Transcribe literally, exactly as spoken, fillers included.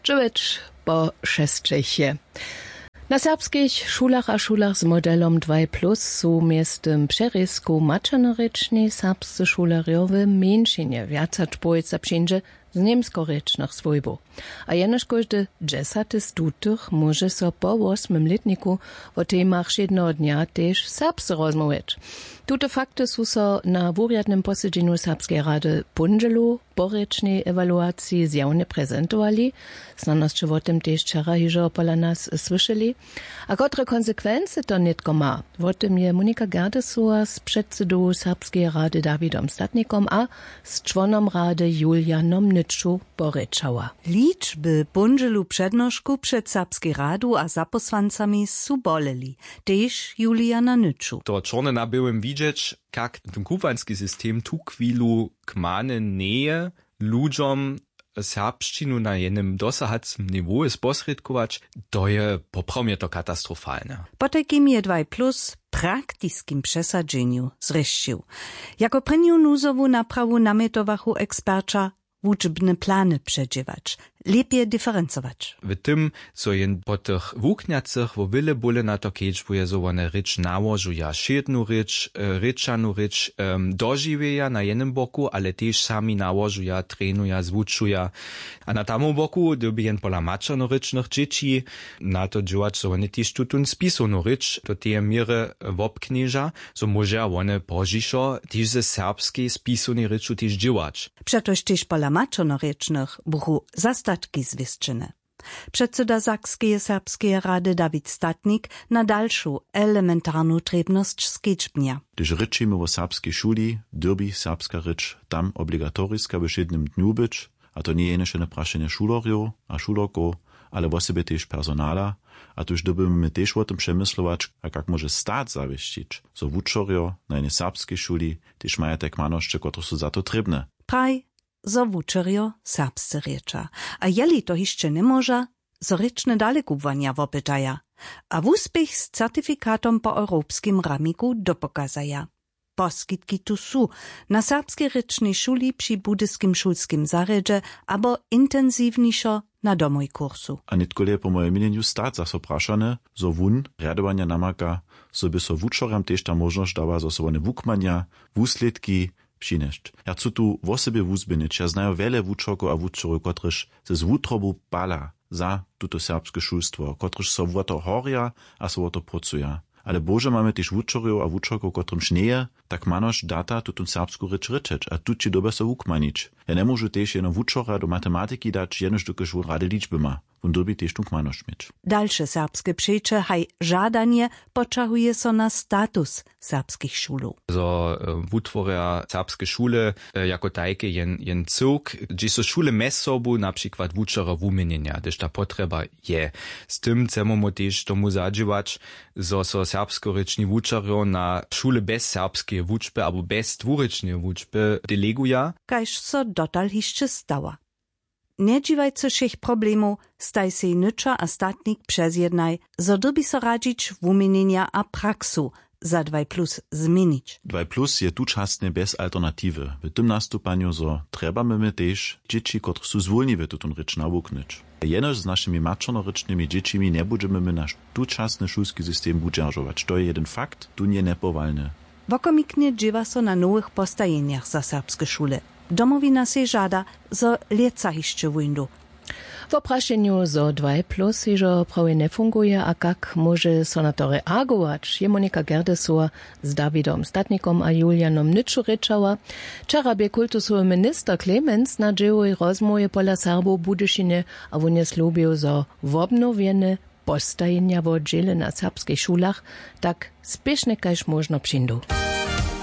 Dźewjeć po šesćech je. Na serbskich šulach a šulach z modelom dwaj plus su mjeztym přerězkow maćernorěčni serbscy šulerjo w mjeńšinje. Wjac hač połojca přińdźe z němskorěčnych swójbow. A jenož kóždy dźesaty z tutych móže so po wosmym lětniku wo temach wšědneho dnja tež serbsce rozmołwjeć. Tute fakty su so na wurjadnym posedźenju serbskeje rady póndźelu po rěčnej ewaluaciji zjawnje prezentowali. Snano sće wo tym tež wčera hižo pola nas słyšeli. A kotre konsekwency to nětko ma, wo tym je monika gerdesowa z předsydowu serbskeje rady dawidom statnikom a z čłonom rady julianom nyču porěčała. Ličby póndźelu přednošku před serbskej radu a zapósłancami su boleli, tež juliana nyču. To čorne na běłym widźeć, kak ten kubłański system tu chwilu kmany njeje ludźom serbšćinu na jenym dosahacym niwołu sposrědkować. To je poprawomje to katastrofalne. Potajkim je dwaj plus w praktiskim přesadźenju zrěšćił. Jako prěnju nuzowu naprawu namjetowachu eksperća wučbne plany předźěłać, lěpje diferencować. W tym zo jen po tych wuknjacych wo wjele bóle na to kedźbuje zo wone rěč nałožuja wšědnu rěč, rěčanu rěč dožiwjeja na jenym boku ale tež sami nałožuja trenuja zwučuja. A na tamnym boku dyrbi jen pola maćernorěčnych dźěći na to dźěłać zo wone tež tutón spisownu rěč do teje měry wobknježa, zo móžeja wone pozdźišo tež ze serbskej spisownej rěču tež dźěłać. Přetož tež pola maćernorěčnych buchu zastatki zwěsćene. Předsyda sakskeje serbskeje rady dawid statnik na dalšu elementarnu trěbnosć skedźbnja. Hdyž rěčimy wo serbskej šuli, dyrbi serbska rěč tam obligatoriska we wšědnym dnju być. A to njeje jenož jene prašenje šulerjow a šulerkow, ale wosebje tež personala. A tuž dyrbimy my tež wo tym přemyslować, a kak móže stat zawěsćić, zo wučerjo na jenej serbskej šuli tež maja te kmanošće kotrež su za to trěbne. Praj, zo wučerjo serbsce rěča, a jeli to hišće njemóža, zo rěčne dalekubłanja wopytaja a wuspěch z certifikatom po europskim ramiku dopokazaja. Poskitki tu su, na serbskej rěčnej šuli při budyskim šulskim zarjedźe abo intensiwnišo na domoj kursu. A nětkolej je po mojim měnjenju stat zaso prašany, zo wón rjadowanja namaka, zo by so wučerjam tež ta móžnosć dała zo so wone wukmanja, wuslědki přinjesć. Ja chcu tu wosebje wuzběhnyć, ja znaju wjele wučerkow a wučerjow kotrež se z wutrobu pala za tuto serbske šulstwo, kotrež so wo to horja a so wo to prócuja. Ale bohužel mamy tež wučerjow a wučerkow kotrymž njeje ta kmanošć data tutón serbsku rěč rěčeć a tući dyrbja so wukmanić. Ja njemóžu tež jeno wučerja do matematiki dać jenož dokelž wón rady ličby ma. Wón dyrbi tež tu kmanošć měć. Dalše serbske přeće haj žadanje poćahuje so na status serbskich šulow. Zo wutworja serbske šule jako tajke jen jen cyłk, hdźež so šule mjez sobu na přikład wučerjo wuměnjenja hdyž ta potrjeba je. Z tym chcemy mu tež tomu zadźěłać, zo so serbskorěčni wučerjo na šule bjez serbskeje wučby abo bjez dwurěčneje wučby deleguja. Kaž so dotal hišće stała. Njedźiwajcy wšěch problemow, staj sej nyča a statnik přezjednaj, zo dyrbi so radźić wuměnjenja a praksu za dwaj plus změnić. Dwaj plus je tučasnje bjez alternatiwy w tym nastupanju zo trjebamy my tež dźěći kotrež su zwólniwe tutón rěč nawuknyć. Jenož z našimi maćernorěčnymi dźěćimi njebudźemy my naš tučasny šulski system wudźeržować to je jedyn fakt tón je njepowalny. Wokomiknje dźěła so na nowych postajenjach za serbske šule. Domowina sej žada, zo lětsa hišće wóńdu. Wo prašenju zo dwaj plus hižo prawje njefunguje a kak móže so na to reagować je monika gerdesowa z dawidom statnikom a julianom nyču rěčała. Wčera bě kultusowy minister klemenc na dźěłowej rozmołwje pola serbow w budyšinje a wón je slubjeł zo wobnowjene postajenja wo dźěle na serbskich šulach tak spěšnje kaž móžno přińdu.